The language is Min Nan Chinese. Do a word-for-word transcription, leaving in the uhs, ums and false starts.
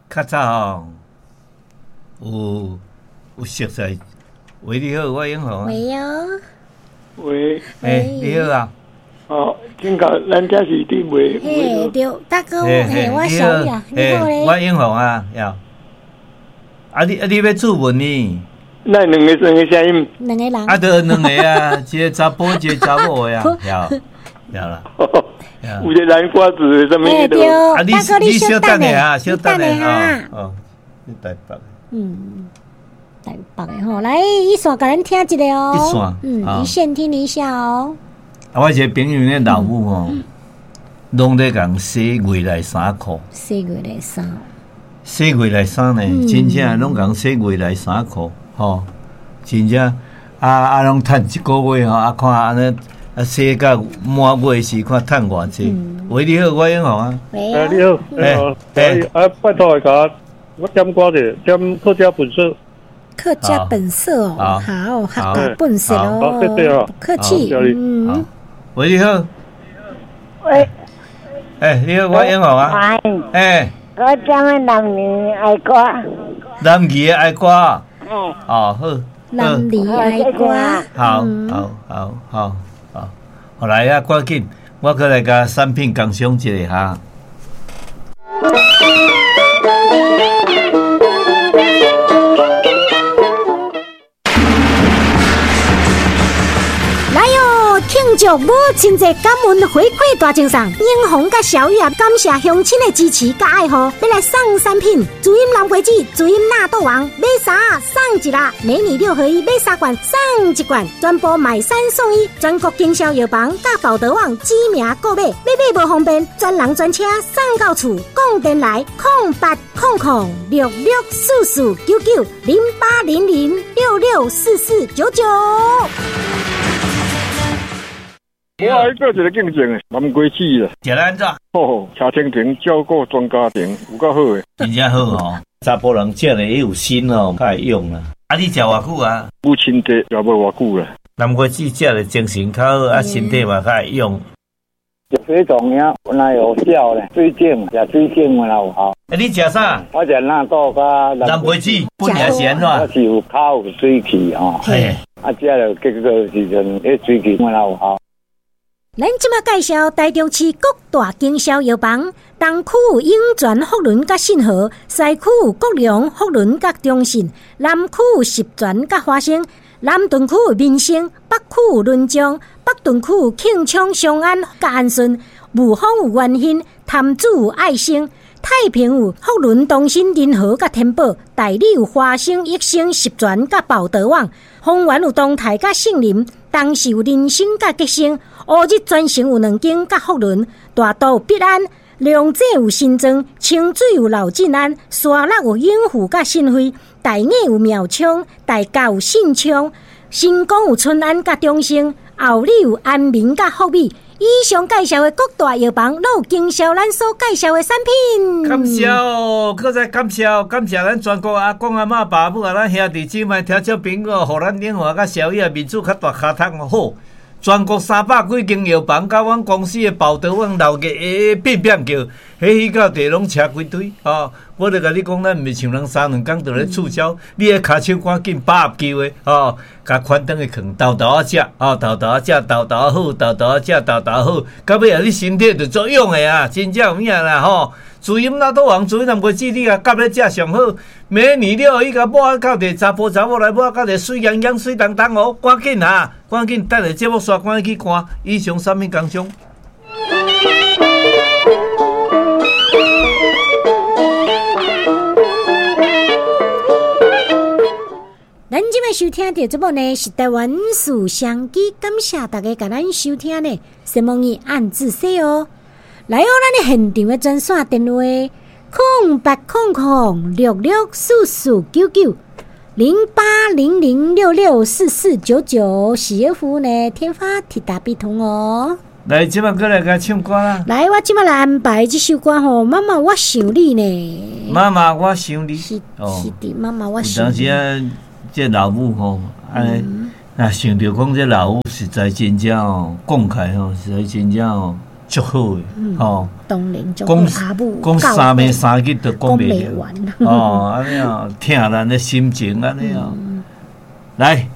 較早吼，有有熟似。喂，你好，我永鴻。喂哦。喂。欸，你好啊。哦，請教咱這是佇賣。嘿，對，大哥，嘿，我小玉啊，你好咧。我永鴻啊，呀。啊你啊你欲注文呢？那兩个兩個聲音。兩個人。啊，著兩个啊，一个查埔，一个查某的啊，有，有啦。有一个南瓜子啥物的。啊，你你稍等下啊，稍等下啊。哦，你台北。嗯，台北的吼，來，一線共咱聽一下哦。一線，嗯，一線聽一下哦。啊，我一個朋友咧老母吼，攏咧共洗月內衫褲。洗月內衫。洗月內衫呢，真正攏共洗月內衫褲，吼，真正啊啊，攏趁一個月吼，啊看按呢啊洗到滿月時，看趁偌濟。喂，你好，我永鴻啊。喂，你好，你好，哎，啊，拜託一下，我點歌者，點客家本色。客家本色哦，好，客家本色哦，好，謝謝哦，不客氣，嗯。喂，你好。喂。欸，你好，我永鴻啊。欸。我點男兒愛歌。男兒愛歌。嗯。哦，好。男兒愛歌。好，好，好，好，好，好來啊，趕緊，我閣來共產品工商一下哈。祝母親節感恩回饋大贈送，英雄佮小玉啊，感謝鄉親的支持佮愛護，欲來送產品，滋飲藍花子，滋飲納豆王，買三送一啦，美女六合一買三罐送一罐，全部買三送一，全國經銷藥房佮寶德網指名購買，買買無方便，專人專車送到厝，講電來空八空空六六四四九九零八零零六六四四九九。我愛做一個見證的，南瓜子啦。食了按怎？好，車清庭照顧全家庭，有夠好的。真正好哦，查埔人食的也有心哦，較會用啦。啊，你食偌久啊？母親節食無偌久啦。南瓜子食的精神較好，啊，身體嘛較會用。食水粽爾，本來有效咧，水井食水井嘛有效。欸，你食啥？我食納豆佮南瓜子，本來是按怎？我是有口有水氣吼。嘿。啊，食了結果時陣，彼水氣本來有效。咱這馬介紹台中市各大經銷藥房，東區有永泉福倫佮信和，西區有國良福倫佮中信，南區有十全佮華生，南屯區有民生，北區有麟彰，北屯區有慶昌、松安佮安順，霧峰有元興，潭子有愛生，太平有福倫東新仁和佮天寶，大里有華生、益生、十全佮寶德網，豐原有東台佮杏林，東勢有人生佮吉星。烏日全城有兩間佮福倫，大肚有必安，龍井有新莊，清水有老晋安，沙鹿有永福佮信惠，大雅有妙昌，大甲有信昌，新光有春安佮中兴，后里有安民佮福美。以上介紹的各大藥房，攏有經銷咱所介紹的產品。感謝哦，閣再感謝，感謝咱全國阿公阿嬤、爸母啊，咱兄弟姊妹、聽眾朋友，予咱永華佮小玉面子較大尻通好。全國三百幾間藥房，佮阮公司的寶德網老個變變叫，彼彼到地攏車規堆吼。我就共你講，咱毋是像人三兩工就咧促銷，你的跤手趕緊把握機會吼，共寬轉去囥，沓沓仔食，吼，沓沓仔食，沓沓好，沓沓仔食，沓沓好，到尾啊，你身體就足勇的啊，真正有影啦吼。滋飲納豆王，滋飲南瓜子，你共夾咧食上好。美女了，伊共抹到佇查埔查某來抹到佇水秧秧、水當當哦，趕緊啊，趕緊等下節目煞，趕緊去看。以上產品工商。咱這擺收聽著節目呢，是台灣事商機，感謝大家共咱收聽呢。什麼語按字說哦。來哦，咱的現場的專線電話：空八空空六六四四九九零八零零六六四四九九，是要服務呢，天發鐵達必通哦。來，這擺過來共唱歌啦。來，我這擺來安排這首歌吼，媽媽我想你呢。媽媽我想你。是是的，媽媽我想你。有當時啊，這老母吼，按呢，若想著講這老母實在真正哦，講起來吼，實在真正哦。足好的，吼。當然就講阿母講三暝三日都講袂講袂完哦，按呢哦，疼咱的心情按呢哦。來，